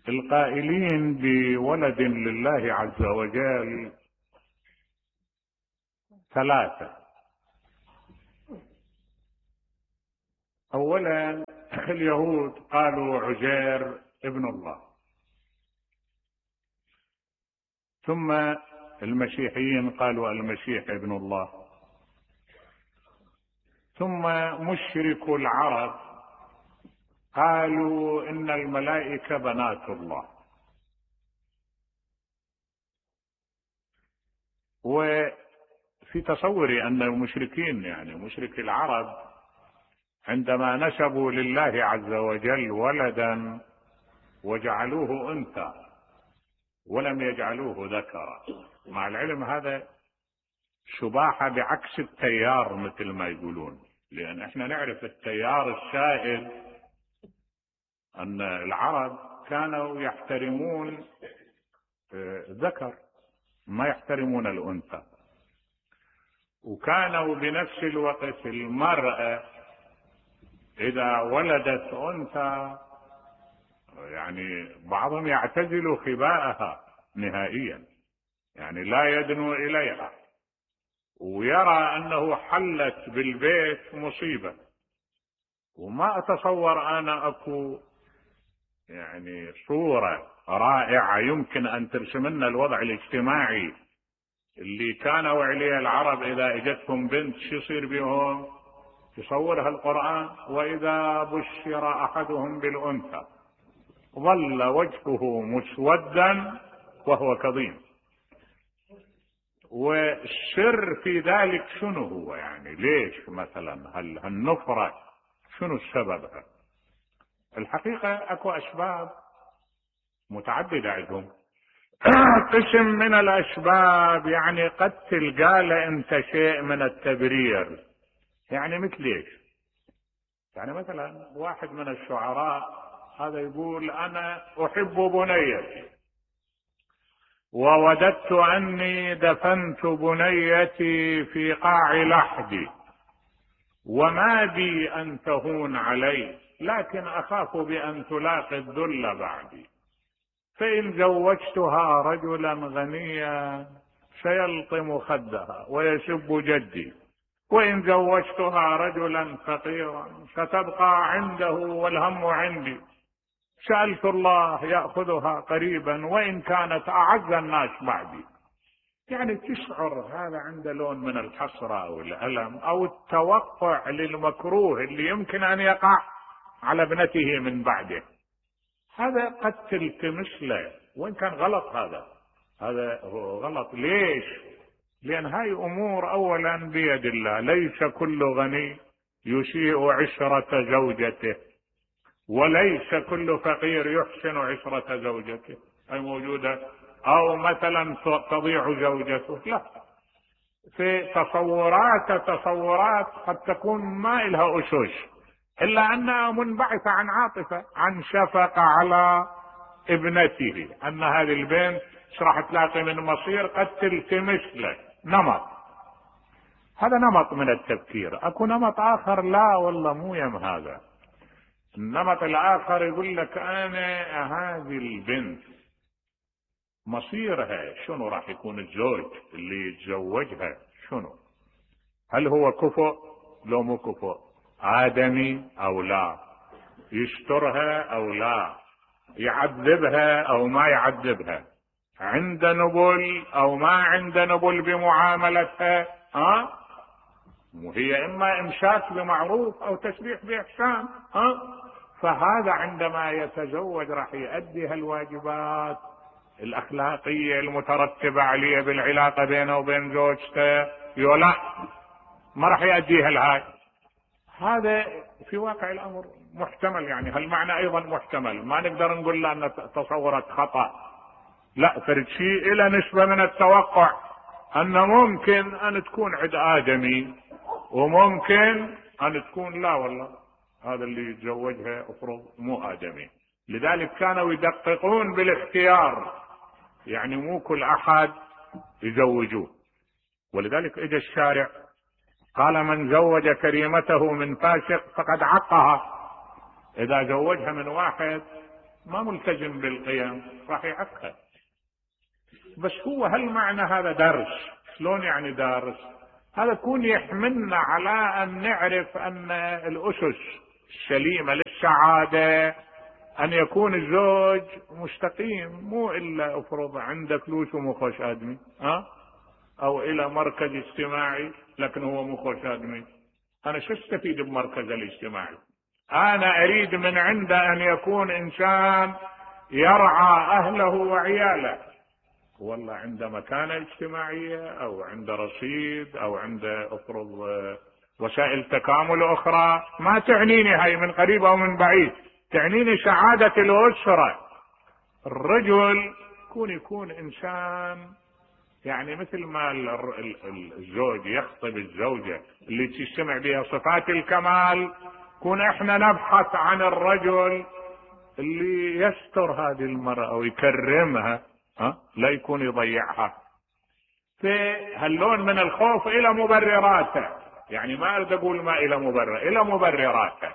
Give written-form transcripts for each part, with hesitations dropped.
القائلين بولد لله عز وجل ثلاثة. اولا اليهود قالوا عزير ابن الله، ثم المسيحيين قالوا المسيح ابن الله، ثم مشركو العرب قالوا ان الملائكة بنات الله. وفي تصوري ان المشركين يعني مشركي العرب عندما نسبوا لله عز وجل ولدا وجعلوه انثى ولم يجعلوه ذكرا، مع العلم هذا شباحة بعكس التيار مثل ما يقولون، لان احنا نعرف التيار السائد ان العرب كانوا يحترمون الذكر ما يحترمون الانثى، وكانوا بنفس الوقت المرأة اذا ولدت انثى يعني بعضهم يعتزل خباءها نهائيا، يعني لا يدنو اليها، ويرى انه حلت بالبيت مصيبة. وما اتصور انا اكو يعني صورة رائعة يمكن ان ترسم لنا الوضع الاجتماعي اللي كانوا عليه العرب اذا اجتهم بنت شو يصير بهم. تصورها القرآن: واذا بشر احدهم بالانثى ظل وجهه مسودا وهو كظيم. والسر في ذلك شنو هو؟ يعني ليش مثلا هالنفرة شنو السبب؟ الحقيقة اكو اسباب متعددة عندهم. قسم من الاسباب يعني قد تلقى له انت شيء من التبرير، يعني مثل ايش؟ يعني مثلا واحد من الشعراء هذا يقول: انا احب بنيتي ووددت اني دفنت بنيتي في قاع لحدي وما بي ان تهون علي لكن اخاف بان تلاقي الذل بعدي، فان زوجتها رجلا غنيا سيلطم خدها ويسب جدي، وان زوجتها رجلا فقيرا ستبقى عنده والهم عندي، سألت الله يأخذها قريبا وإن كانت أعز الناس بعدي. يعني تشعر هذا عنده لون من الحسرة أو الألم أو التوقع للمكروه اللي يمكن أن يقع على ابنته من بعده. هذا قد تلتمس له، وإن كان غلط هذا هو غلط. ليش؟ لأن هاي أمور أولا بيد الله، ليس كل غني يسيء عشرة زوجته، وليس كل فقير يحسن عشرة زوجته، أي موجودة، أو مثلا تضيع زوجته، لا. في تصورات قد تكون ما إلها أسس إلا أنها منبعثة عن عاطفة، عن شفقة على ابنته، أن هذه البنت راح تلاقي من مصير قد تلتمس له نمط. هذا نمط من التفكير. أكو نمط آخر لا والله مو يم هذا. النمط الآخر يقول لك أنا هذه البنت مصيرها شنو راح يكون، الزوج اللي يتزوجها شنو، هل هو كفؤ لو مو كفؤ، آدمي أو لا، يسترها أو لا، يعذبها أو ما يعذبها، عند نبل أو ما عند نبل بمعاملتها، وهي إما إمساك بمعروف أو تسريح بإحسان، فهذا عندما يتزوج راح يؤدي هالواجبات الأخلاقية المترتبة عليه بالعلاقة بينه وبين زوجته، لا ما راح يؤديها الهاي. هذا في واقع الأمر محتمل، يعني هالمعنى أيضا محتمل، ما نقدر نقول له أن تصورت خطأ، لا، فرد شيء إلى نسبة من التوقع أن ممكن أن تكون عند آدمي وممكن أن تكون لا والله هذا اللي يتزوجها أفرض مو آدمي. لذلك كانوا يدققون بالاختيار، يعني مو كل أحد يزوجوه. ولذلك إجا الشارع قال: من زوج كريمته من فاسق فقد عقها. إذا زوجها من واحد ما ملتزم بالقيم راح يعقد. بس هو هل معنى هذا درس؟ شلون يعني درس؟ هذا يكون يحملنا على ان نعرف ان الاسس السليمة للسعادة ان يكون الزوج مستقيم، مو الا افرض عنده فلوس ومو خوش ادمي، او الى مركز اجتماعي لكن هو مو خوش ادمي. انا شو استفيد بمركز الاجتماعي؟ انا اريد من عنده ان يكون انسان يرعى اهله وعياله، والله عنده مكانة اجتماعية او عنده رصيد او عنده افرض وسائل تكامل اخرى، ما تعنيني هاي من قريب او من بعيد، تعنيني سعادة الاسرة. الرجل يكون انسان يعني مثل ما الزوج يخطب الزوجة اللي تجتمع بها صفات الكمال، كون احنا نبحث عن الرجل اللي يستر هذه المرأة ويكرمها، لا يكون يضيعها. في هاللون من الخوف الى مبرراته، يعني ما اريد اقول ما الى مبرر، الى مبرراته.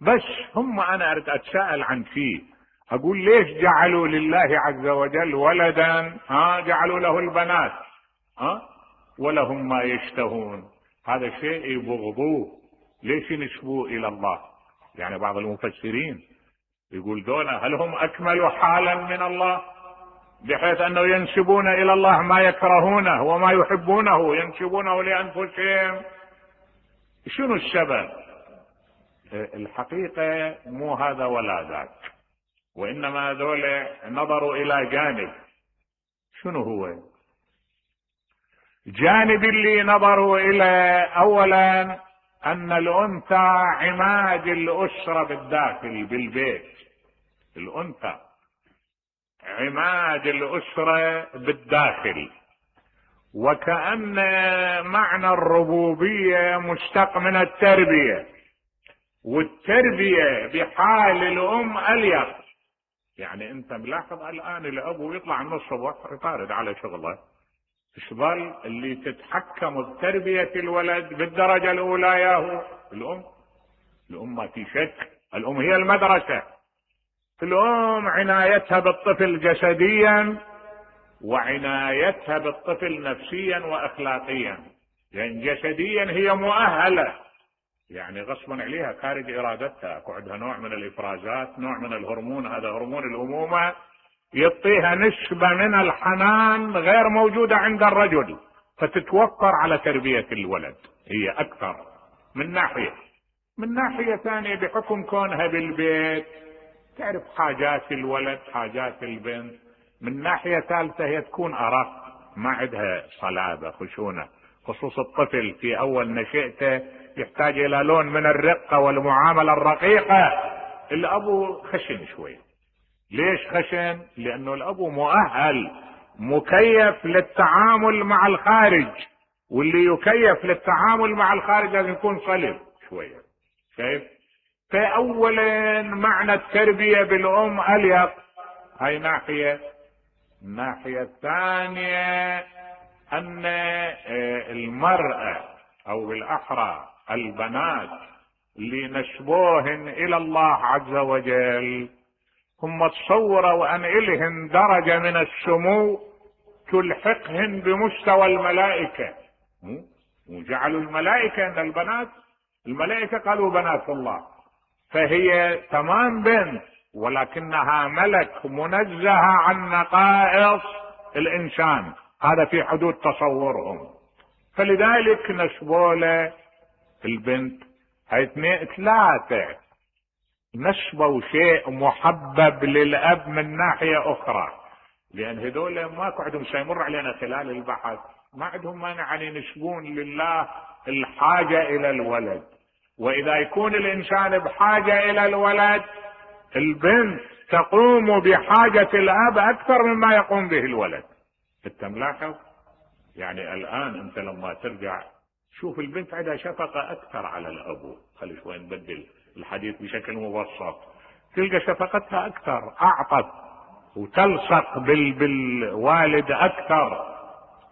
بس انا اريد اتساءل عن شيء، اقول ليش جعلوا لله عز وجل ولدا؟ جعلوا له البنات ولهم ما يشتهون، هذا شيء يبغضوه، ليش ينسبوه الى الله؟ يعني بعض المفسرين يقول دولة هل هم اكملوا حالا من الله بحيث انه ينسبون الى الله ما يكرهونه وما يحبونه ينسبونه لانفسهم؟ شنو السبب؟ الحقيقة مو هذا ولا ذاك، وانما هذول نظروا الى جانب. شنو هو جانب اللي نظروا الى؟ اولا ان الانثى عماد الاسرة بالداخل بالبيت، الانثى عماد الاسرة بالداخل، وكأن معنى الربوبية مشتق من التربية، والتربية بحال الام اليق. يعني انت ملاحظ الان الاب يطلع من الصبح يطارد على شغله، تظل اللي تتحكم بتربية الولد بالدرجة الاولى ياهو الام ما في شك، الام هي المدرسة. الام عنايتها بالطفل جسديا وعنايتها بالطفل نفسيا واخلاقيا، يعني جسديا هي مؤهلة، يعني غصبا عليها خارج ارادتها، عندها نوع من الافرازات، نوع من الهرمون، هذا هرمون الامومة يعطيها نسبة من الحنان غير موجودة عند الرجل، فتتوفر على تربية الولد هي اكثر من ناحية ثانية بحكم كونها بالبيت تعرف حاجات الولد حاجات البنت. من ناحية ثالثة هي تكون ارق، ما عندها صلابة خشونة، خصوص الطفل في اول نشأته يحتاج الى لون من الرقة والمعاملة الرقيقة. الابو خشن شوي، ليش خشن؟ لانه الابو مؤهل مكيف للتعامل مع الخارج، واللي يكيف للتعامل مع الخارج لازم يكون صلب شوية، شايف؟ فاولا معنى التربية بالام اليق، هاي ناحية. الناحية الثانية ان المرأة او بالاحرى البنات اللي نسبوهن الى الله عز وجل هم تصوروا ان الهن درجة من السمو تلحقهن بمستوى الملائكة، وجعلوا الملائكة ان البنات، الملائكة قالوا بنات الله، فهي تمام بنت ولكنها ملك منزهة عن نقائص الانسان، هذا في حدود تصورهم، فلذلك نسبوا له البنت. هاي ثلاثة نسبوا شيء محبب للاب من ناحية اخرى، لان هذول ماكو عندهم سيمر علينا خلال البحث، ما عندهم مانع ان ينسبون لله الحاجة الى الولد، واذا يكون الانسان بحاجة الى الولد البنت تقوم بحاجة الاب اكثر مما يقوم به الولد. انت ملاحظ؟ يعني الان انت لما ترجع شوف البنت عندها شفقة اكثر على الابو، خلي شوي نبدل الحديث بشكل مبسط، تلقى شفقتها اكثر، اعطت وتلصق بالوالد اكثر.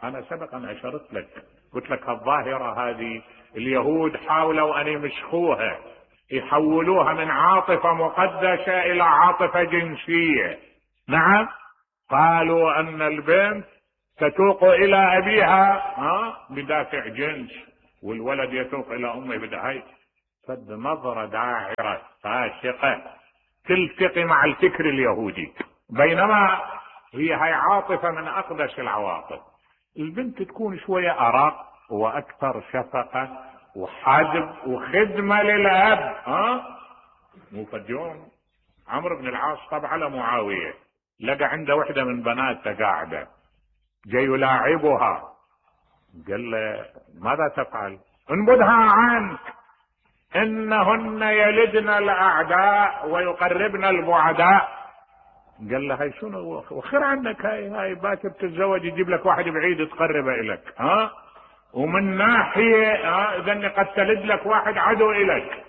انا سبقا اشرت لك قلت لك الظاهرة هذه اليهود حاولوا ان يمسخوها، يحولوها من عاطفة مقدسة الى عاطفة جنسية. نعم، قالوا ان البنت تتوق الى ابيها بدافع جنس، والولد يتوق الى امه بدافع. فد نظرة داعرة فاشقة تلتقي مع الفكر اليهودي، بينما هاي عاطفة من اقدس العواطف. البنت تكون شوية ارق واكثر شفقة وحدب وخدمة للاب. مو فد يوم عمرو بن العاص طبع على معاوية، لقى عنده وحدة من بناته قاعدة جاي يلاعبها، قال له ماذا تفعل؟ انبذها عنك، انهن يلدن الاعداء ويقربن البعداء. قال له هاي شنو وخير عنك، هاي باكر تتزوج يجيب لك واحد بعيد تقربه الك، ومن ناحية اذا قد تلد لك واحد عدو الك،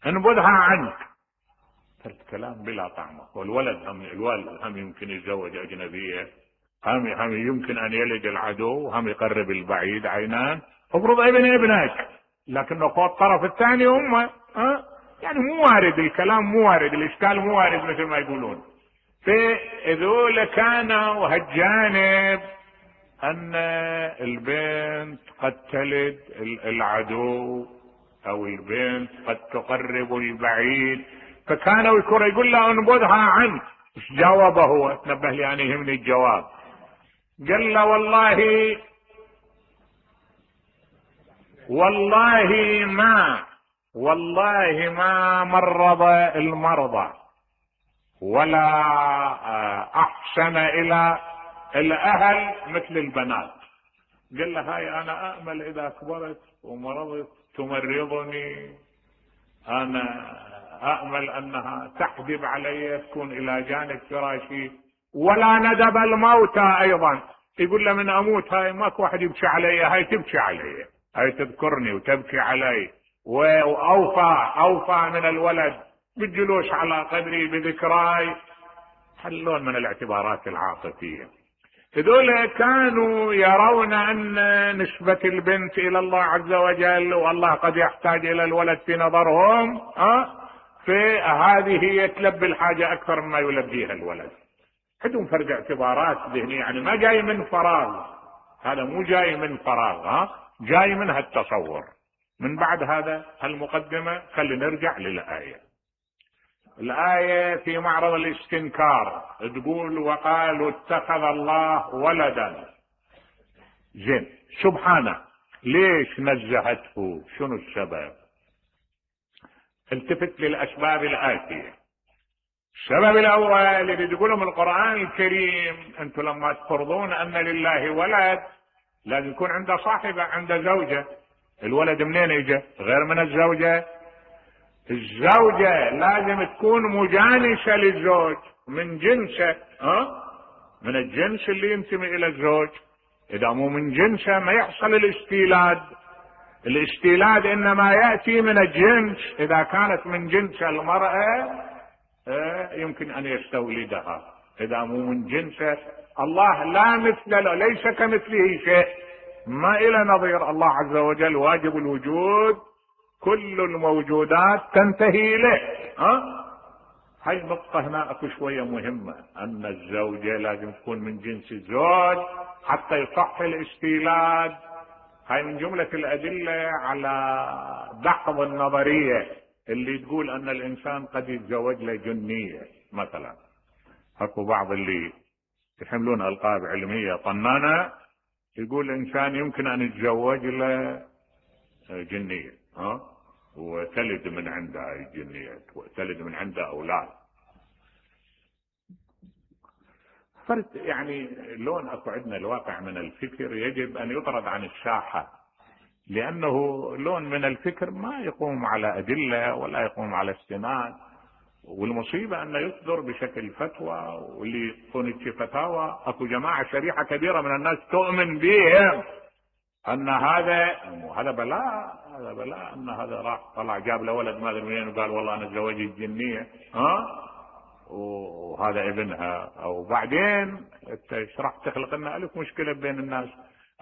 انبذها عنك. الكلام بلا طعمه. والولد الوالد هم يمكن يتزوج اجنبية، هم يمكن ان يلد العدو، هم يقرب البعيد عينان. افرض ابنك، لكنه فوق الطرف الثاني امه. يعني مو وارد الكلام، مو وارد الاشكال، مو وارد مثل ما يقولون. فذول كانوا هالجانب ان البنت قد تلد العدو او البنت قد تقرب البعيد، فكانوا يقول له انبذها عنك. ايش جاوبه هو؟ تنبه لي انا يهمني الجواب. قال له والله ما مرض المرضى ولا احسن الى الاهل مثل البنات. قال له هاي انا امل اذا كبرت ومرضت تمرضني، انا امل انها تحجب علي، تكون الى جانب فراشي، ولا ندب الموتى ايضا. يقول له من اموت هاي ماكو واحد يبكي علي، هاي تبكي علي، هاي تذكرني وتبكي علي، واوفى من الولد بالجلوس على قدري بذكراي. حلون من الاعتبارات العاطفية. هذول كانوا يرون ان نسبة البنت الى الله عز وجل والله قد يحتاج الى الولد في نظرهم، فهذه هي تلبي الحاجة اكثر مما يلبيها الولد. عندهم فرق اعتبارات ذهنية، يعني ما جاي من فراغ، هذا مو جاي من فراغ، جاي من هالتصور. من بعد هذا المقدمة خلينا نرجع للآية. الآية في معرض الاستنكار تقول وقالوا اتخذ الله ولدا. زين، سبحانه ليش نزهته؟ شنو السبب؟ التفت للأسباب الآتية. السبب الأول اللي تقولهم القرآن الكريم، أنتم لما تفرضون أن لله ولد لازم يكون عنده صاحبة، عنده زوجة. الولد منين يجي؟ غير من الزوجة. الزوجة لازم تكون مجانسة للزوج، من جنسه، من الجنس اللي ينتمي الى الزوج. اذا مو من جنسه ما يحصل الاستيلاد. الاستيلاد انما يأتي من الجنس. اذا كانت من جنس المرأة يمكن ان يستولدها. اذا مو من جنسه، الله لا مثل له، ليس كمثله شيء، ما الى نظير. الله عز وجل واجب الوجود، كل الموجودات تنتهي له. هاي النقطة هنا اكو شوية مهمة، ان الزوجة لازم تكون من جنس الزوج حتى يصح الاستيلاد. هاي من جملة الادلة على دحض النظرية اللي تقول ان الانسان قد يتزوج له جنية مثلا. اكو بعض اللي يحملون القاب علمية طنانة يقول الانسان يمكن ان يتزوج له جنية، وتلد من عندها الجنية، وتلد من عندها اولاد. فرد يعني لون اكو عندنا الواقع من الفكر يجب ان يطرد عن الساحة، لانه لون من الفكر ما يقوم على ادلة ولا يقوم على استناد. والمصيبة انه يصدر بشكل فتوى، واللي يكون فتاوى اكو جماعة شريحة كبيرة من الناس تؤمن بهم ان هذا بلاء، هذا بلاء، ان هذا راح طلع جاب له ولد ما ادري منين وقال والله انا اتزوجت الجنية، وهذا ابنها. او بعدين انت ايش راح تخلق لنا الف مشكلة بين الناس.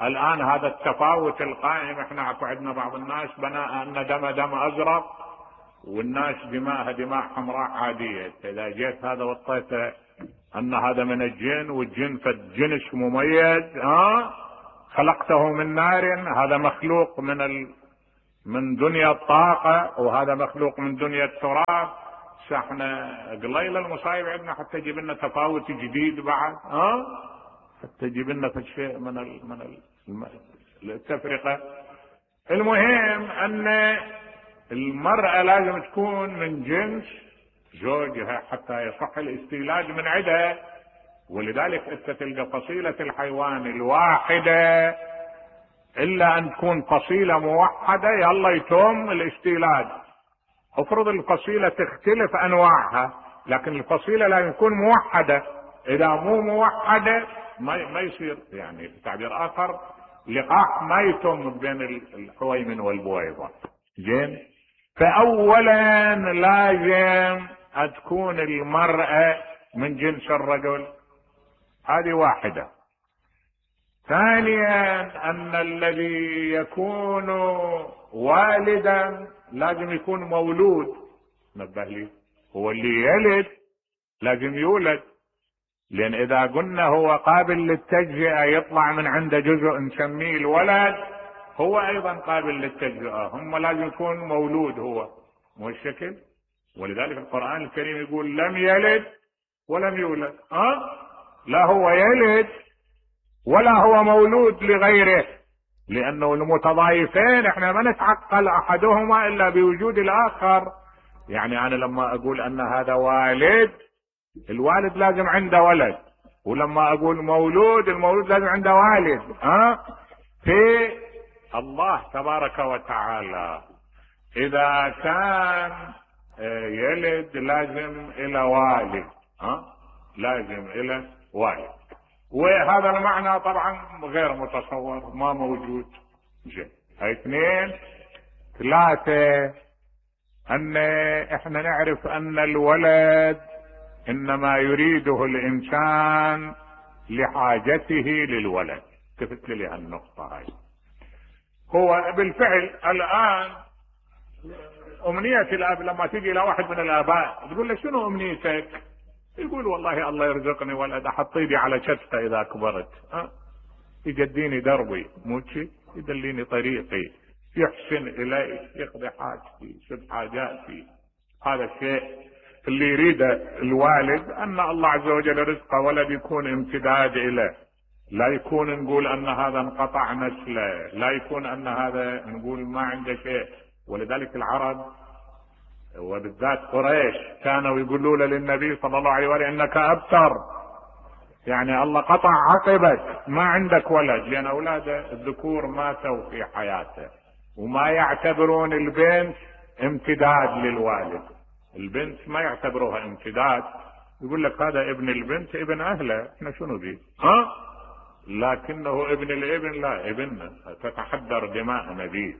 الان هذا التفاوت القائم، احنا اكو عندنا بعض الناس بناء ان دم ازرق والناس دماءها دماء حمراء عادية. اذا جيت هذا وطيته ان هذا من الجن، والجن فجنس مميز، خلقته من نار، هذا مخلوق من دنيا الطاقة، وهذا مخلوق من دنيا التراب. احنا قليل المصايب عندنا حتى يجيب لنا تفاوت جديد بعد، حتى يجيب لنا شيء من التفرقة. المهم ان المرأة لازم تكون من جنس زوجها حتى يصح الاستيلاج من عدها. ولذلك انت تلقى فصيلة الحيوان الواحدة الا ان تكون فصيلة موحدة يلا يتم الاستيلاج. افرض الفصيلة تختلف انواعها، لكن الفصيلة لازم تكون موحدة. اذا مو موحدة ما يصير، يعني بتعبير اخر لقاح ما يتم بين الحويمن والبويضة. زين، فاولا لازم تكون المرأة من جنس الرجل، هذه واحدة. ثانيا ان الذي يكون والدا لازم يكون مولود. نبه لي، هو اللي يلد لازم يولد، لان اذا قلنا هو قابل للتجزئة يطلع من عنده جزء نسميه الولد، هو ايضا قابل للتجزئة، هم لازم يكون مولود هو، مو الشكل. ولذلك القرآن الكريم يقول لم يلد ولم يولد، لا هو يلد ولا هو مولود لغيره، لانه المتضايفين احنا ما نتعقل احدهما الا بوجود الاخر. يعني انا لما اقول ان هذا والد، الوالد لازم عنده ولد، ولما اقول مولود، المولود لازم عنده والد. في الله تبارك وتعالى اذا كان يلد لازم الى والد، لازم الى والد. وهذا المعنى طبعا غير متصور، ما موجود. زين، هاي اثنين. ثلاثة، ان احنا نعرف ان الولد انما يريده الانسان لحاجته للولد. التفت لي هالنقطة هاي. هو بالفعل الان امنية الاب لما تيجي الى واحد من الاباء تقول له شنو امنيتك؟ يقول والله الله يرزقني ولد احط ايدي على شفته اذا كبرت، يجديني دربي، مو شي، يدليني طريقي، يحسن الي، يقضي حاجتي، يسد حاجاتي. هذا الشيء اللي يريده الوالد، ان الله عز وجل رزق ولد يكون امتداد له، لا يكون نقول ان هذا انقطع نسله، لا يكون ان هذا نقول ما عنده شيء. ولذلك العرب وبالذات قريش كانوا يقولون للنبي صلى الله عليه وسلم انك ابتر، يعني الله قطع عقبك، ما عندك ولد، لان اولاده الذكور ماتوا في حياته، وما يعتبرون البنت امتداد للوالد. البنت ما يعتبروها امتداد، يقول لك هذا ابن البنت ابن اهله، احنا شنو بيه؟ لكنه ابن الابن لا ابننا، تتحدر دماءنا به.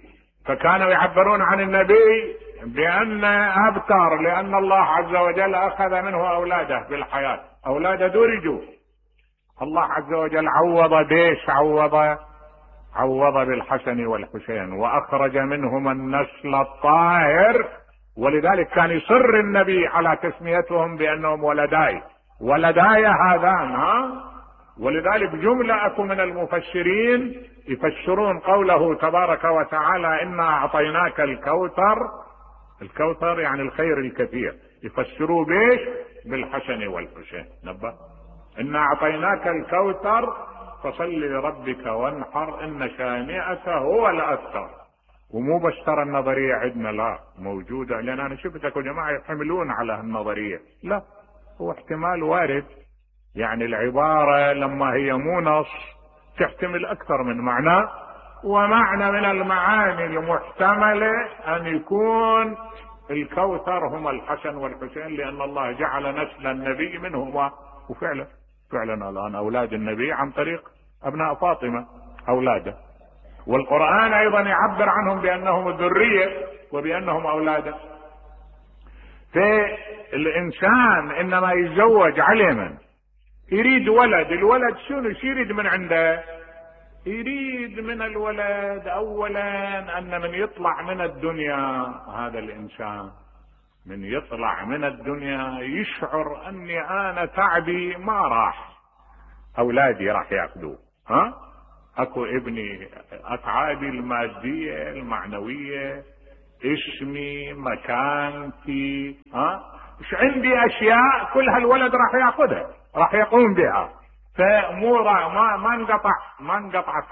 فكانوا يعبرون عن النبي بان ابتر، لان الله عز وجل اخذ منه اولاده بالحياة، اولاده درجوا. الله عز وجل عوض بيش، عوض بالحسن والحسين، واخرج منهما النسل الطاهر. ولذلك كان يصر النبي على تسميتهم بانهم ولداي هذان. ولذلك جملة اكو من المفسرين يفسرون قوله تبارك وتعالى انا اعطيناك الكوثر يعني الخير الكثير، يفسروا بيش؟ بالحسن والحسين. نبه، انا اعطيناك الكوثر فصل لربك وانحر ان شانئك هو الابتر. ومو بس ترى النظرية عندنا، لا موجودة، لان انا شفتك جماعة يحملون على النظرية، لا هو احتمال وارد. يعني العبارة لما هي مو نص تحتمل اكثر من معنى، ومعنى من المعاني المحتملة ان يكون الكوثر هم الحسن والحسين، لان الله جعل نسل النبي منهما. وفعلا الان اولاد النبي عن طريق ابناء فاطمة اولاده، والقرآن ايضا يعبر عنهم بانهم الذرية وبانهم اولاده. فالانسان انما يتزوج علما يريد ولد، الولد شنو يريد من عنده؟ يريد من الولد اولا ان من يطلع من الدنيا هذا الانسان من يطلع من الدنيا يشعر اني انا تعبي ما راح، اولادي راح ياخذوه. اكو ابني اتعابي المادية المعنوية، اسمي، مكانتي، مش عندي اشياء كل هالولد راح ياخذها، راح يقوم بها. فمو ما انقطعت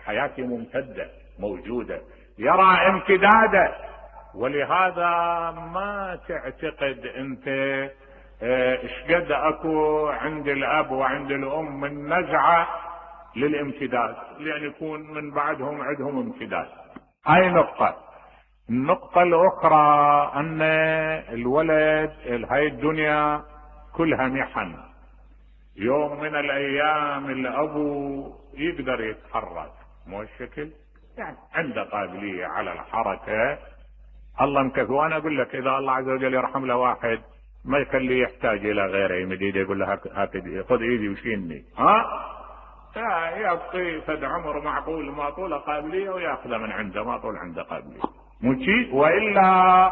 حياتي ممتدة موجودة، يرى امتداده. ولهذا ما تعتقد انت اشقد اكو عند الاب وعند الام من نزعة للامتداد، لان يكون من بعدهم عندهم امتداد. هاي نقطة. النقطة الاخرى ان الولد هاي الدنيا كلها محن. يوم من الايام الابو يقدر يتحرك، مو الشكل يعني عنده قابلية على الحركة، الله مكفي. وانا اقول لك اذا الله عز وجل يرحم له واحد ما يخليه يحتاج الى غيره، يمد ايده يقول له خذ ايدي وشيلني، يبقي فد عمر معقول ما طول قابلية وياخذه من عنده ما طول عنده قابلية، مو شيء. والا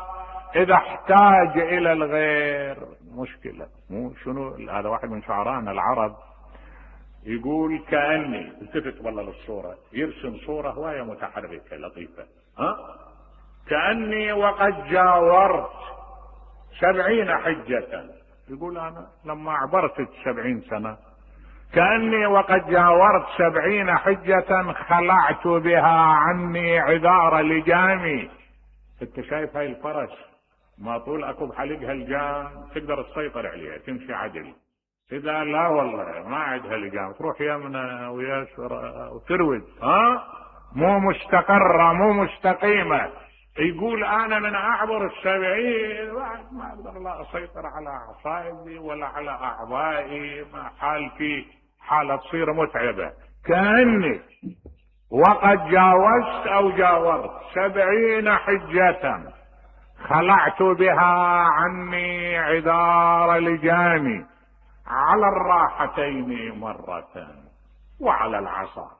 اذا احتاج الى الغير مشكلة. مو شنو هذا واحد من شعرانا العرب يقول كأني التفت والله للصورة، يرسم صورة هواية متحركة لطيفة، كأني وقد جاورت 70 حجة. يقول انا لما عبرت 70 سنة كأني وقد جاورت 70 حجة خلعت بها عني عذار لجامي. انت شايف هاي الفرس ما طول اكو بحلقها الجام تقدر تسيطر عليها تمشي عدل، اذا لا والله ما عندها لجام تروح يمنى ويسرى وتروج، مو مستقرة مو مستقيمة. يقول انا من اعبر 70 ما اقدر لا اسيطر على اعصابي ولا على اعضائي، حالتي حالة تصير متعبة. كأني وقد جاوزت او جاورت 70 حجة خلعت بها عني عذار لجامي، على الراحتين مرة وعلى العصا.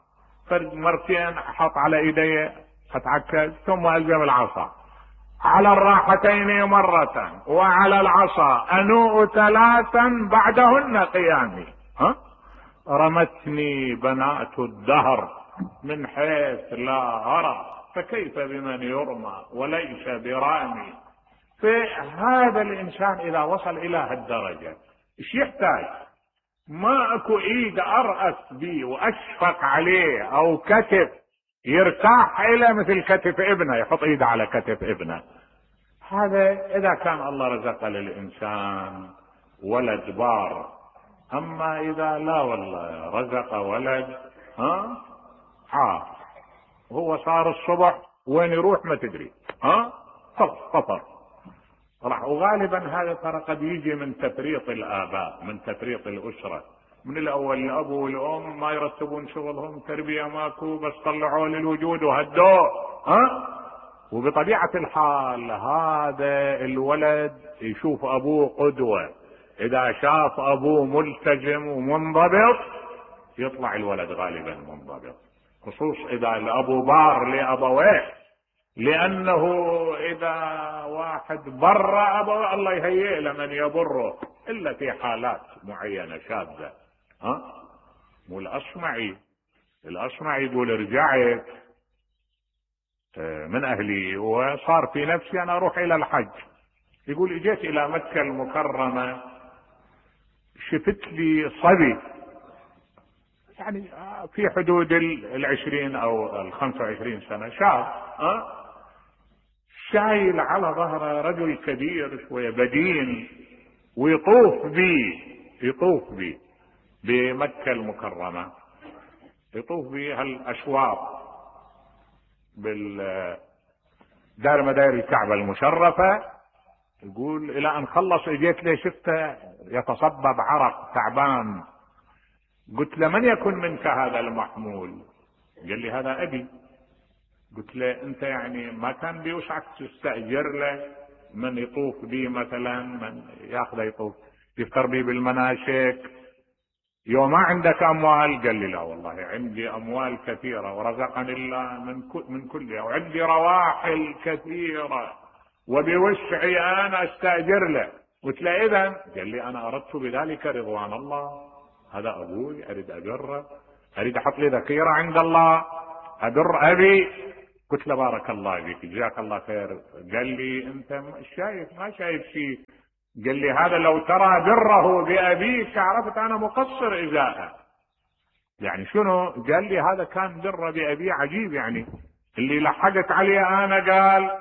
مرتين احط على ايدي اتعكز ثم الزم العصا، على الراحتين مرة وعلى العصا انوء 3 بعدهن قيامي. رمتني بنات الدهر من حيث لا ارى، فكيف بمن يرمى وليس برامي. فهذا الانسان اذا وصل الى هالدرجة ايش يحتاج؟ ما اكو ايد ارأس بيه واشفق عليه او كتف يرتاح الى مثل كتف ابنه، يحط ايده على كتف ابنه. هذا اذا كان الله رزق للانسان ولد بار. اما اذا لا والله رزق ولد هو صار الصبح وين يروح ما تدري، فطر راح. وغالبا هذا ترى قد يجي من تفريط الاباء، من تفريط الاسره. من الاول الاب والام ما يرتبون شغلهم، تربيه ماكو، بس طلعوا للوجود وهدوه. وبطبيعه الحال هذا الولد يشوف ابوه قدوه، اذا شاف ابوه ملتزم ومنضبط يطلع الولد غالبا منضبط، خصوص اذا الابو بار لابويه. لانه اذا واحد بر ابوه الله يهيئ لمن يبره، الا في حالات معينه شاذه. مو الاصمعي يقول رجعت من اهلي وصار في نفسي انا اروح الى الحج. يقول اجيت الى مكة المكرمة شفت لي صبي يعني في حدود 20 او 25 سنة، شاب شايل على ظهره رجل كبير شوية بدين، ويطوف بي بمكة المكرمة، يطوف بي هالاشواط بالدار مداير الكعبة المشرفة. يقول الى ان خلص اجيت له شفته يتصبب عرق تعبان. قلت له من يكن منك هذا المحمول؟ قال لي هذا ابي. قلت له انت يعني ما كان بيوسعك تستأجر له من يطوف بي مثلا، من ياخذه يطوف يفتر بي بالمناسك؟ يوم ما عندك اموال؟ قال لي لا والله عندي اموال كثيرة ورزقني الله من كلها، وعندي رواحل كثيرة وبوسعي انا استاجر له. قلت له اذا؟ قال لي انا اردت بذلك رضوان الله، هذا ابوي اريد اجره، اريد احط لي ذخيره عند الله، ابر ابي. قلت له بارك الله فيك جزاك الله خير. قال لي انت شايف ما شايف شيء؟ قال لي هذا لو ترى بره بابيك عرفت انا مقصر ازاءه. يعني شنو؟ قال لي هذا كان بره بابي عجيب، يعني اللي لحقت عليه انا قال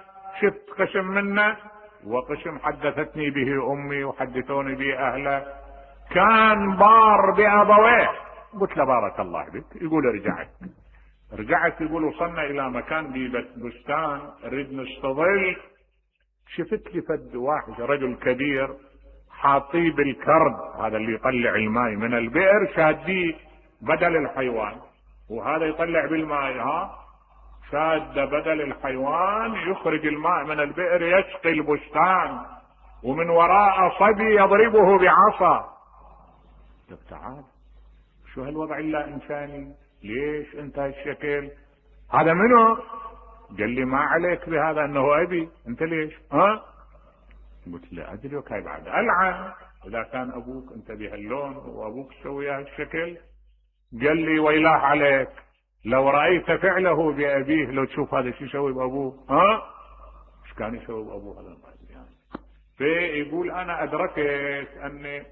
شفت قسم منه، وقسم حدثتني به امي وحدثوني به اهله، كان بار بابويه. قلت له بارك الله بك. يقول رجعت يقول وصلنا الى مكان ببستان نريد نستظل، شفت لي فد واحد رجل كبير حاطيه بالكرب، هذا اللي يطلع الماء من البئر شاديه بدل الحيوان، وهذا يطلع بالماء شاد بدل الحيوان، يخرج الماء من البئر يسقي البستان، ومن وراء صبي يضربه بعصا. طب تعال شو هالوضع الا انساني؟ ليش انت هالشكل؟ هذا منو؟ قال لي ما عليك بهذا انه ابي. انت ليش؟ قلت له ادري وكاي بعد العن اذا كان ابوك انت بهاللون وابوك تسوي هالشكل. قال لي ويلاه عليك لو رايت فعله بابيه، لو تشوف هذا شو يسوي بابوه. ايش كان يسوي بابوه هذا؟ فيقول انا ادركت ان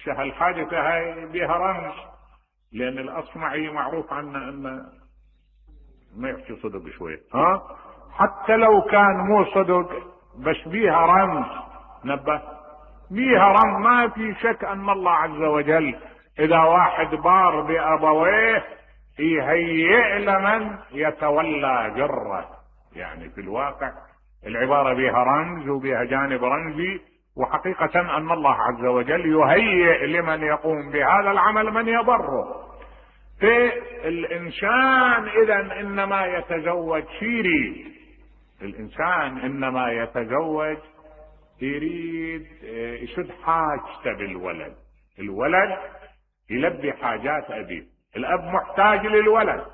هالحادثه هاي بها رمز، لان الاصمعي معروف عنه انه ما يحكي صدق شوي، حتى لو كان مو صدق بس بيها رمز، نبه بيها رمز. ما في شك ان الله عز وجل اذا واحد بار بابويه يهيئ لمن يتولى جره. يعني في الواقع العباره بيها رمز وبيها جانب رمزي، وحقيقه ان الله عز وجل يهيئ لمن يقوم بهذا العمل من يبره. فالإنسان إذا إنما يتزوج شيري، الإنسان إنما يتزوج يريد يسد حاجته بالولد، الولد يلبي حاجات أبيه. الأب محتاج للولد،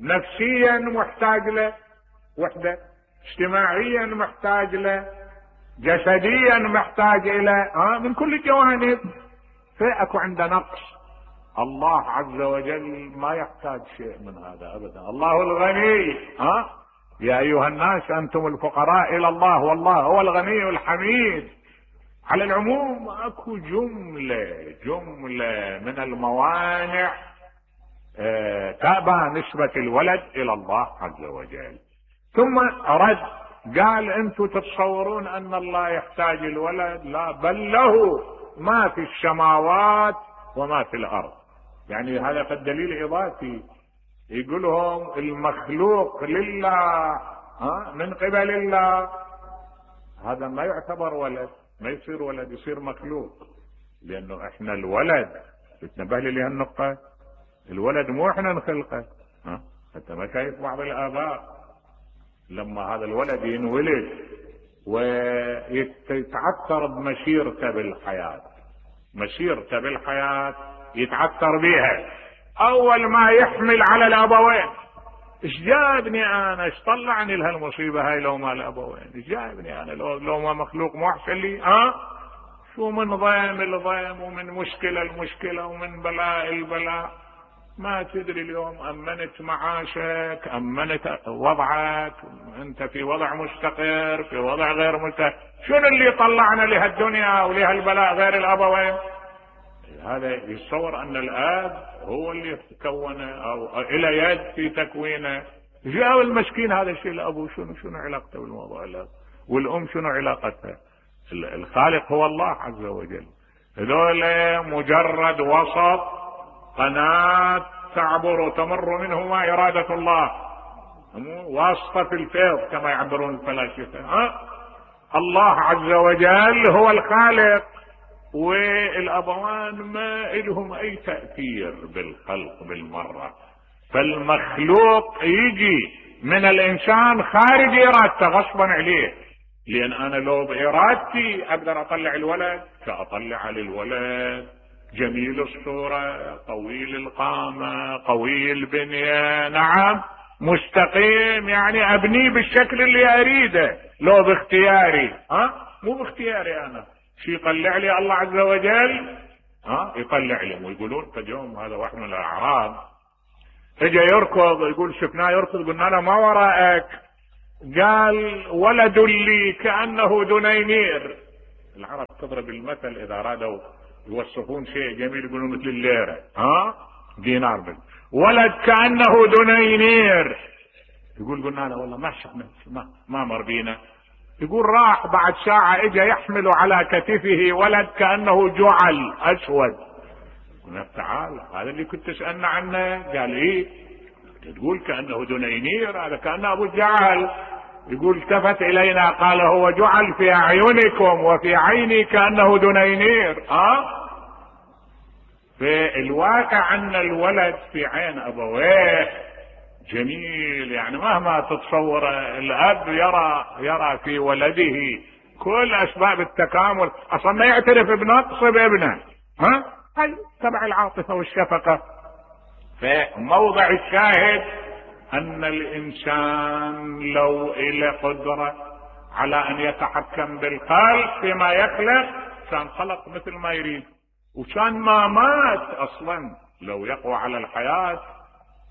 نفسيا محتاج له وحده، اجتماعيا محتاج له، جسديا محتاج إلى من كل الجوانب. فأكو عنده نقص. الله عز وجل ما يحتاج شيء من هذا ابدا، الله الغني. يا ايها الناس انتم الفقراء الى الله والله هو الغني الحميد. على العموم اكو جمله من الموانع تابع نسبة الولد الى الله عز وجل. ثم رد قال انتم تتصورون ان الله يحتاج الولد؟ لا، بل له ما في السماوات وما في الارض. يعني هذا قد دليل اضافي، يقولهم المخلوق لله من قبل الله، هذا ما يعتبر ولد، ما يصير ولد، يصير مخلوق. لانه احنا الولد تنبه لي هالنقطة، الولد مو احنا نخلقه. انت ما شايف بعض الاباء لما هذا الولد ينولد ويتعثر بمسيرته بالحياة، مسيرته بالحياة يتعثر بها، اول ما يحمل على الابوين ايش جابني انا، ايش طلعني لهالمصيبه هاي لو ما الابوين، ايش جابني انا لو ما مخلوق مو احسن لي. شو من ضيم الضيم ومن مشكله المشكله ومن بلاء البلاء. ما تدري اليوم امنت معاشك، امنت وضعك، انت في وضع مستقر، في وضع غير مستقر. شنو اللي طلعنا لهالدنيا ولهالبلاء غير الابوين؟ هذا يتصور ان الاب هو اللي تكونه او الى يد في تكوينه. جاء المسكين هذا الشيء الابو شنو علاقته بالموضوع؟ والام شنو علاقتها؟ الخالق هو الله عز وجل. هذول مجرد وسط، قناة تعبر وتمر منهما إرادة الله، واسطة في الفيض كما يعبرون الفلاسفة. الله عز وجل هو الخالق، والأبوان ما لهم أي تأثير بالخلق بالمرة. فالمخلوق يجي من الإنسان خارج إرادته غصبا عليه، لأن أنا لو بإرادتي أقدر أطلع الولد فأطلع على الولد جميل الصورة، طويل القامة، قوي البنية، نعم، مستقيم يعني ابنيه بالشكل اللي اريده، لو باختياري مو باختياري انا. شي يطلع لي الله عز وجل يطلع لي. ويقولون قد يوم هذا واحد من الاعراب اجى يركض، يقول شفناه يركض، قلنا له ما وراءك؟ قال ولد لي كأنه دنينير. العرب تضرب المثل اذا ارادوا يوصفون شيء جميل يقولون مثل الليرة دينار بل ولد كأنه دنينير. يقول قلنا له والله ما شفنا ما مر بينا. يقول راح بعد ساعة اجى يحمل على كتفه ولد كأنه جعل اسود. قلنا تعال هذا اللي كنت تسألنا عنه. قال ايه تقول كأنه دنينير؟ هذا كأنه ابو جعل. يقول التفت الينا قال هو جعل في اعينكم وفي عيني كأنه دنينير. في الواقع ان الولد في عين ابويه جميل، يعني مهما تتصور الاب يرى في ولده كل اسباب التكامل، اصلا ما يعترف بنقص بابنه. هاي تبع العاطفه والشفقه. فموضع الشاهد ان الانسان لو له قدره على ان يتحكم بالخلق فيما يخلق كان خلق مثل ما يريد، وكان ما مات اصلا. لو يقوى على الحياه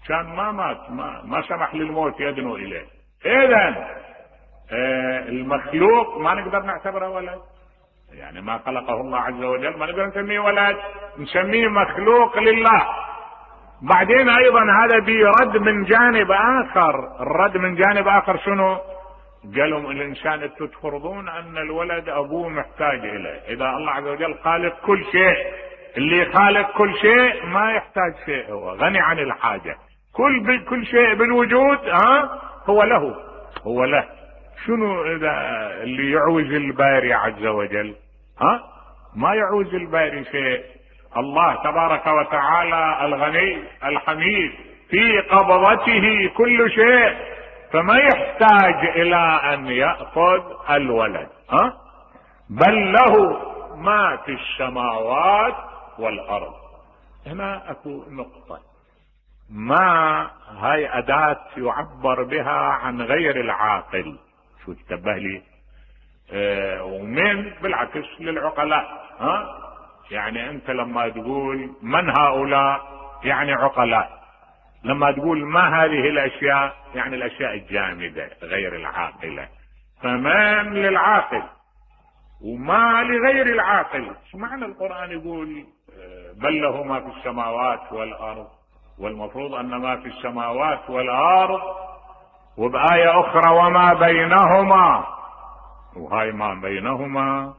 كان ما مات، ما سمح للموت يدنو اليه. اذا المخلوق ما نقدر نعتبره ولد، يعني ما خلقه الله عز وجل ما نقدر نسميه ولد، نسميه مخلوق لله. بعدين ايضا هذا بيرد من جانب اخر. الرد من جانب اخر شنو؟ قالوا الانسان انتم تفرضون ان الولد ابوه محتاج اليه. اذا الله عز وجل خالق كل شيء، اللي خالق كل شيء ما يحتاج شيء، هو غني عن الحاجه. كل شيء بالوجود هو له. شنو اذا اللي يعوز الباري عز وجل؟ ما يعوز الباري شيء. الله تبارك وتعالى الغني الحميد في قبضته كل شيء، فما يحتاج الى ان يأخذ الولد. بل له ما في السماوات والارض. هنا اكو نقطة، ما هاي اداة يعبر بها عن غير العاقل. شو تنبه لي؟ ومن بالعكس للعقلاء. يعني انت لما تقول من هؤلاء يعني عقلاء، لما تقول ما هذه الاشياء يعني الاشياء الجامدة غير العاقلة. فمن للعاقل وما لغير العاقل. شو معنى القرآن يقول بل له ما في السماوات والارض؟ والمفروض ان ما في السماوات والارض، وبآية اخرى وما بينهما. وهاي ما بينهما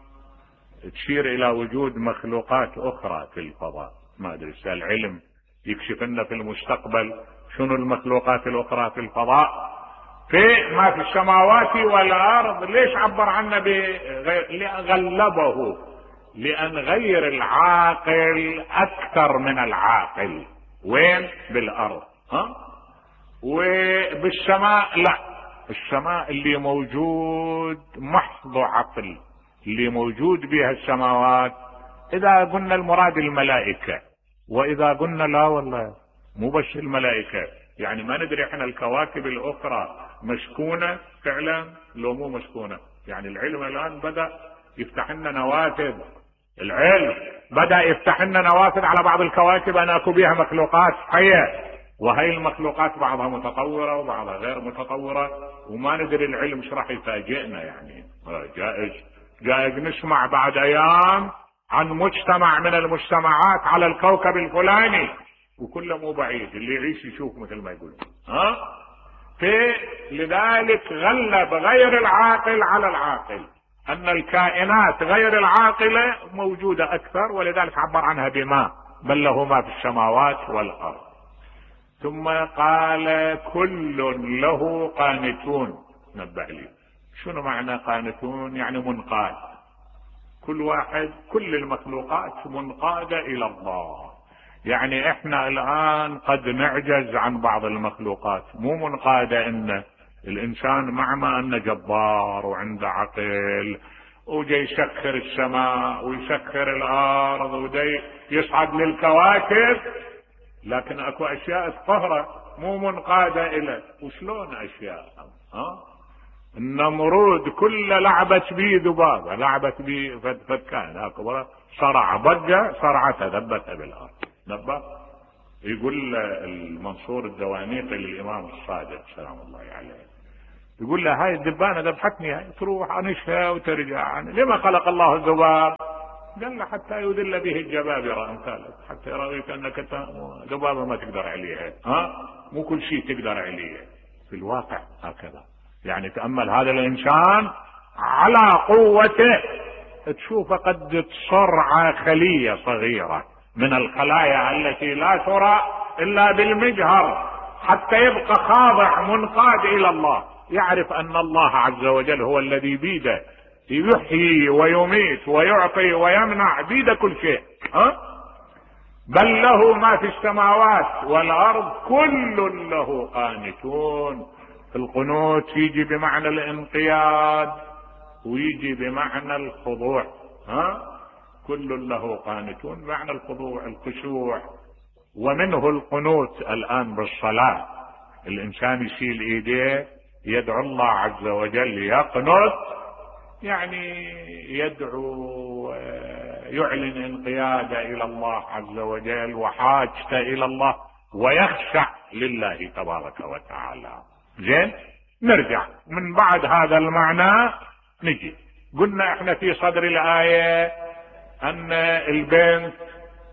تشير الى وجود مخلوقات اخرى في الفضاء. ما ادري العلم يكشف لنا في المستقبل شنو المخلوقات الاخرى في الفضاء. في ما في السماوات والارض ليش عبر عنه غلبه؟ لان غير العاقل اكثر من العاقل. وين؟ بالارض. وبالسماء لا. السماء اللي موجود محض عقل، اللي موجود بها السماوات. اذا قلنا المراد الملائكة، واذا قلنا لا والله مو بس الملائكة، يعني ما ندري احنا الكواكب الاخرى مسكونة فعلا لو مو مسكونة. يعني العلم الان بدأ يفتح لنا نوافذ، العلم بدأ يفتح لنا نوافذ على بعض الكواكب ان اكو بها مخلوقات حية. وهي المخلوقات بعضها متطورة وبعضها غير متطورة، وما ندري العلم ايش راح يفاجئنا. يعني جائز نسمع بعد ايام عن مجتمع من المجتمعات على الكوكب الفلاني، وكله مو بعيد، اللي يعيش يشوف مثل ما يقول. لذلك غلب غير العاقل على العاقل، ان الكائنات غير العاقلة موجودة اكثر، ولذلك عبر عنها بما بل له ما في السماوات والارض. ثم قال كل له قانتون. نبه لي شنو معنى قانتون؟ يعني منقاد. كل واحد، كل المخلوقات منقادة الى الله. يعني احنا الان قد نعجز عن بعض المخلوقات، مو منقادة. ان الانسان مع ما انه جبار وعنده عقل وجاي يسخر السماء ويسخر الارض ودي يصعد للكواكب، لكن اكو اشياء تقهره. مو منقادة إلك. وشلون أشياء؟ النمرود كل لعبت بيه ذبابة، لعبت بيه فكان هكذا، صرع ضجة، صرعتها ذبتها بالأرض. نبه يقول المنصور الدوانيقي للإمام الصادق سلام الله عليه، يقول له هاي الذبانة ذبحتني، هاي تروح عنشها وترجع لما خلق الله الذباب؟ قال له حتى يذل به الجبابرة أمثالك، حتى يراويك أنك ذبابة ما تقدر عليها، مو كل شيء تقدر عليه في الواقع هكذا. يعني تأمل هذا الإنسان على قوته، تشوف قد تصرع خلية صغيرة من الخلايا التي لا ترى إلا بالمجهر، حتى يبقى خاضع منقاد إلى الله، يعرف أن الله عز وجل هو الذي بيده يحيي ويميت ويعطي ويمنع، بيده كل شيء. بل له ما في السماوات والأرض كل له قانتون. القنوت يجي بمعنى الانقياد ويجي بمعنى الخضوع. كل له قانتون بمعنى الخضوع الخشوع. ومنه القنوت الآن بالصلاة، الإنسان يشيل إيديه يدعو الله عز وجل، يقنت يعني يدعو، يعلن انقياده إلى الله عز وجل وحاجته إلى الله، ويخشع لله تبارك وتعالى. زين، نرجع من بعد هذا المعنى نجي قلنا احنا في صدر الآية أن البنت،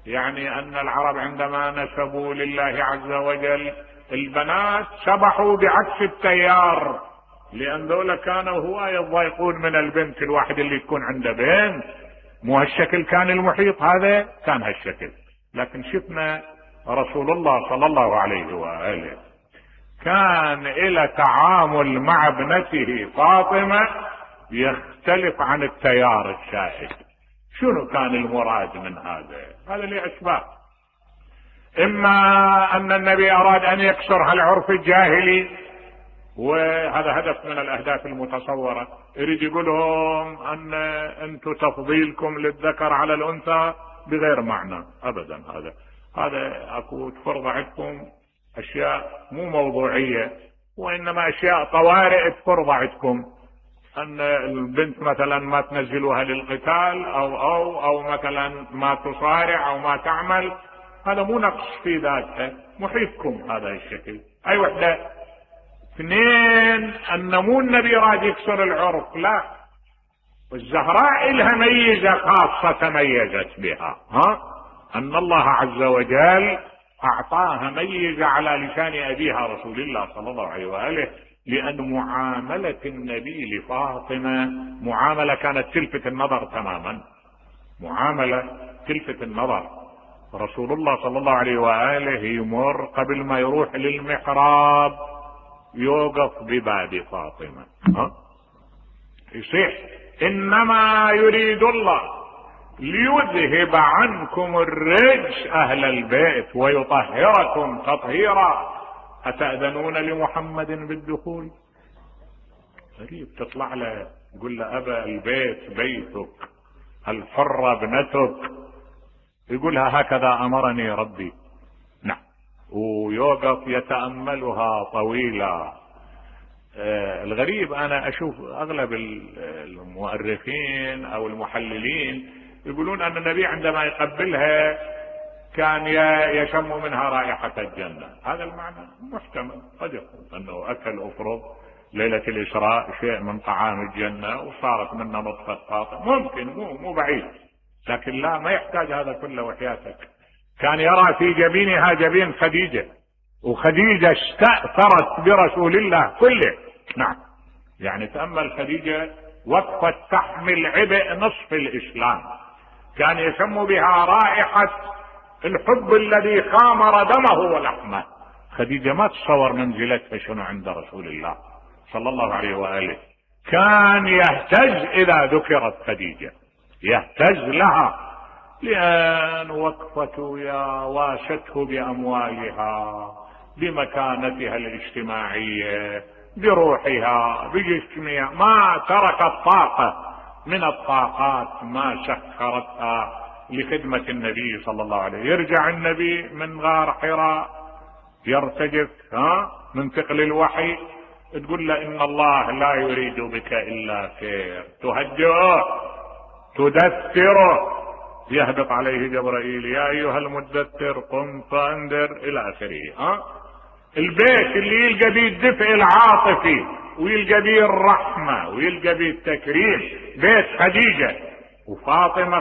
يعني أن العرب عندما نسبوا لله عز وجل البنات سبحوا بعكس التيار، لأن ذولا كانوا هواية يضايقون من البنت الواحد اللي تكون عنده بنت. مو هالشكل كان المحيط، هذا كان هالشكل. لكن شفنا رسول الله صلى الله عليه وآله كان إلى تعامل مع ابنته فاطمة يختلف عن التيار السائد. شنو كان المراد من هذا لأسباب. إما أن النبي أراد أن يكسر هالعرف الجاهلي، وهذا هدف من الأهداف المتصورة، يريد يقولهم أن أنتم تفضيلكم للذكر على الأنثى بغير معنى أبدا. هذا أكو تفرض عندكم أشياء مو موضوعية، وإنما أشياء طوارئ تفرض عندكم، أن البنت مثلا ما تنزلوها للقتال أو مثلا ما تصارع أو ما تعمل. هذا مو نقص في ذاتها، محيطكم هذا الشكل. أي وحدة. اثنين، أن مو النبي راد يكسر العرف، لا، والزهراء لها ميزة خاصة تميزت بها، أن الله عز وجل أعطاها ميزة على لسان أبيها رسول الله صلى الله عليه وآله، لأن معاملة النبي لفاطمة معاملة كانت تلفت النظر تماما، معاملة تلفت النظر. رسول الله صلى الله عليه وآله يمر قبل ما يروح للمحراب يوقف بباب فاطمة، يصيح إنما يريد الله ليذهب عنكم الرجس أهل البيت ويطهركم تطهيرا، أتأذنون لمحمد بالدخول؟ غريب، تطلع له يقول له أبا البيت بيتك، الحرة ابنتك، يقولها هكذا أمرني ربي. نعم، ويوقف يتأملها طويلة. الغريب أنا أشوف أغلب المؤرخين أو المحللين يقولون أن النبي عندما يقبلها كان يشم منها رائحة الجنة. هذا المعنى محتمل، قد يكون أنه أكل أفرض ليلة الإسراء شيء من طعام الجنة وصارت منه نطفة فاطمة، ممكن، مو بعيد، لكن لا، ما يحتاج هذا كله وحياتك. كان يرى في جبينها جبين خديجة، وخديجة استأثرت برسول الله كله. نعم، يعني تأمل خديجة وقفت تحمل عبء نصف الإسلام، كان يسمى بها رائحة الحب الذي خامر دمه ولحمه. خديجة ما تصور منزلتها شنو عند رسول الله صلى الله عليه وآله، كان يهتز إذا ذكرت خديجة، يهتز لها، لأن وقفته واسته بأموالها، بمكانتها الاجتماعية، بروحها، بجسمها، ما تركت طاقة من الطاقات ما سخرتها لخدمة النبي صلى الله عليه وسلم. يرجع النبي من غار حراء يرتجف من ثقل الوحي، تقول له ان الله لا يريد بك الا خير، تهجئه تدثره، يهبط عليه جبرائيل يا ايها المدثر قم فانذر الى اخره. البيت اللي يلقى بيه الدفء العاطفي ويلقى بيه الرحمه ويلقى بيه التكريم بيت خديجه وفاطمه